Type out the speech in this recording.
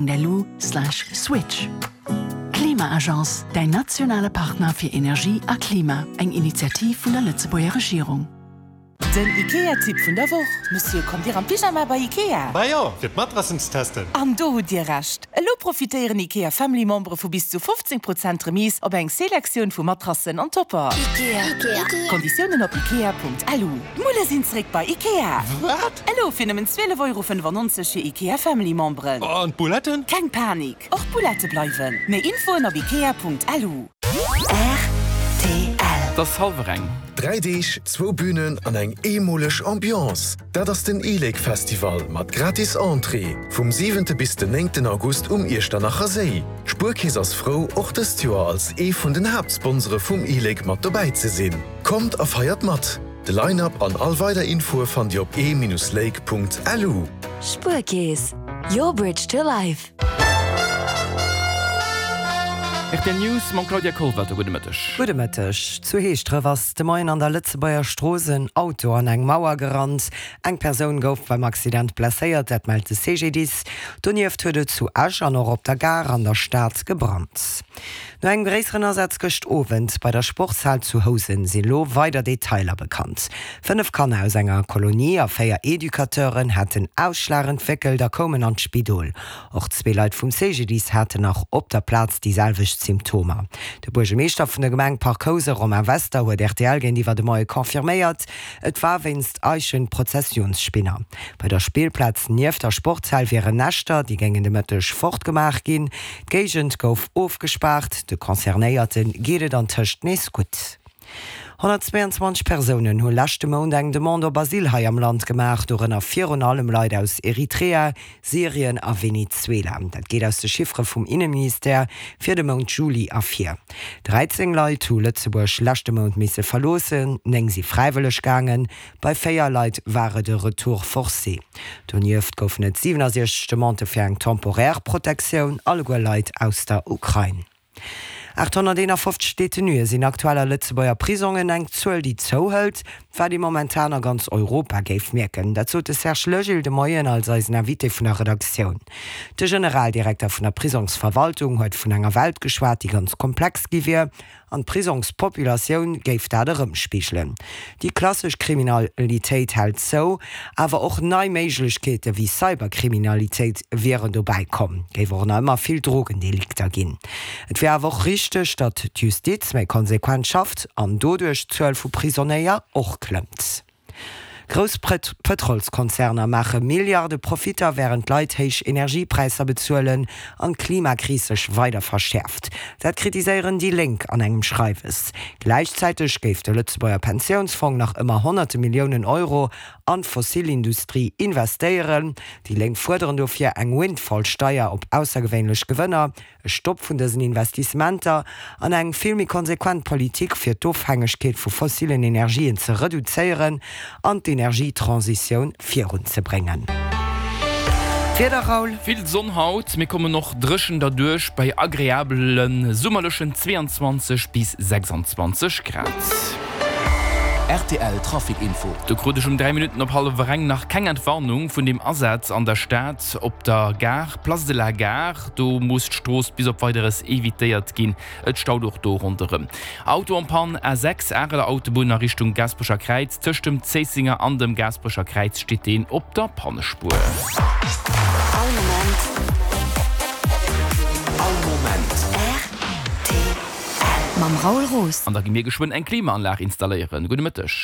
Lu slash switch. Klima-Agence, däin nationale Partner fir Energie a Klima, eng Initiativ vun der Lëtzebuerger Regierung. Den Ikea-Tipp vun der Woch, Monsieur, kommt Dir am Pyjama bei Ikea? Bah jo, fir d'Matrassen ze testen. An do hutt Dir Recht! Elo profitéieren Ikea Family Membere vu bis zu 15 Prozent Remise op eng Selektioun vu Matrassen an Topper. Ikea. Konditiounen op ikea.lu. D'Mulle sinn zréck bei Ikea! Wat? Elo fir nëmmen 12,95 Euro fir Ikea Family Memberen. An d'Bouletten? Keng Panik, och d'Boulette bleiwen. Méi Infoen op ikea.lu. Rtl. Et ass hallwer eng. 3 Deeg, zwou Bünen an eng eemoleg Ambiance, dat ass den e-Lake Festival mat gratis Entrée vum siwente bis den néngten August um Iechternacher Séi. D'Spuerkeess ass frou, och dëst Joer als ee vun den Haaptsponsore vum e-Lake mat dobäi ze sinn. Kommt a feiert mat! De Line-Up an all weider Infoe fannt Dir op e-lake.lu. Spuerkeess, your bridge to life. Rtl News mam Claudia Kollwelter. Gudde Mëtteg. Gudde Mëtteg. Zu Heeschdref ass de Moien an der Lëtzebuerger Strooss en Auto an eng Mauer gerannt. Eng Persoun gouf beim Accident blesséiert, dat mellt de CGDIS. Donieft huet et zu Esch an och op der Gare an der Stad gebrannt. No engem gréisseren Asaz gëscht Owend bei der Sportshal zu Housen sinn elo weider Detailer bekannt. 5 Kanner aus enger Kolonie a 4 Educateuren haten Ausschlag entwéckelt a koumen an d'Spidol. Och zwee Leit vum CGDIS haten nach op der Plaz déi selwecht Symptomer. De Buergermeeschter vun der Gemeng Parc Housen, Romain Wester, huet rtl géintiwwer de Moie confirméiert, et war wéinst Eichenprozessionsspinner. Bei der Spillplaz nieft der Sportshal wieren Näschter, déi géingen de Mëtteg fortgemaach ginn. D'Géigend gouf ofgespaart, de Concernéierte geet et antëscht nees gutt. 122 Persounen hu leschte Mount eng Demande op Asyl hei am Land gemaach, dorënner virun allem Leit aus Eritrea, Syrien a Venezuela. Dat geet aus de Chiffere vum Inneministère fir de Mount Juli ervir. 13 Leit hu Lëtzebuerg leschte Mount misse verloossen, 9 si fräiwëlleg gaangen, Bei 4 Leit war et e Retour forcé. Donieft goufen et 67 Demandë fir eng temporaire Protektioun, alleguer Leit aus der Ukrain. 851 Detenuë sinn aktuell a Lëtzebuerger Prisongen, eng Zuel, déi zouhëlt, wat ee momentan a ganz Europa géif mierken. Dat sot de Serge Legil de Moien als eisen Invité vun der Redaktioun. De Generaldirekter vun der Prisongsverwaltung huet vun enger Welt geschwat, déi ganz komplex gi wier. An d'Prisongspopulatioun géif dat erëmspigelen. Déi klassesch Kriminalitéit hält zou, awer och nei Méiglechkeete wéi Cyberkriminalitéit wieren dobäi komm. Géif och nach ëmmer vill Drogendelikter ginn. Et wier awer och richteg, datt d'Justiz méi konsequent schafft an doduerch d'Zuel vu Prisonéier och klëmmt. Grouss Pëtrolskonzerner maache Milliarde Profitter, wärend d'Leit héich Energiepräisser bezuelen an d'Klimakris sech weider verschäerft. Dat kritiséieren déi Lénk an engem Schreiwes. Gläichzäiteg géif de Lëtzebuerger Pensiounsfong nach ëmmer honnerte Milliounen Euro an d'Fossilindustrie investéieren. Déi Lénk fuerderen dofir eng Windfall-Steier op aussergewéinlech Gewënner. E Stopp vun dësen Investissementer an eng vill méi konsequent Politik fir d'Ofhängegkeet vu fossilen Energien ze reduzéieren an d'Energietransitioun virunzebréngen. D'Wieder, Raoul? Vill Sonn haut, mir kommen och dréchen derduerch bei agreabele summerlechen 22 bis 26 Grad. Rtl Trafic Info. Do krut ech um 3 Minutten op hallwer eng nach keng Entwarnung vun dem Asaz an der Stad op der Gare, Place de la Gare. Do muss d'Strooss bis op Weideres evitéiert ginn. Et staut och do ronderëm. Auto en panne, A6 Areler Autobunn a Richtung Gaasperecher Kräiz. Tëscht dem Zéissenger an dem Gaasperecher Kräiz steet deen op der Pannespuer. All Moment. All Moment. Rtl. Mam Raoul Roos. An da gi mir geschwënn eng Klimaanlag installéieren. Gudde Mëtteg.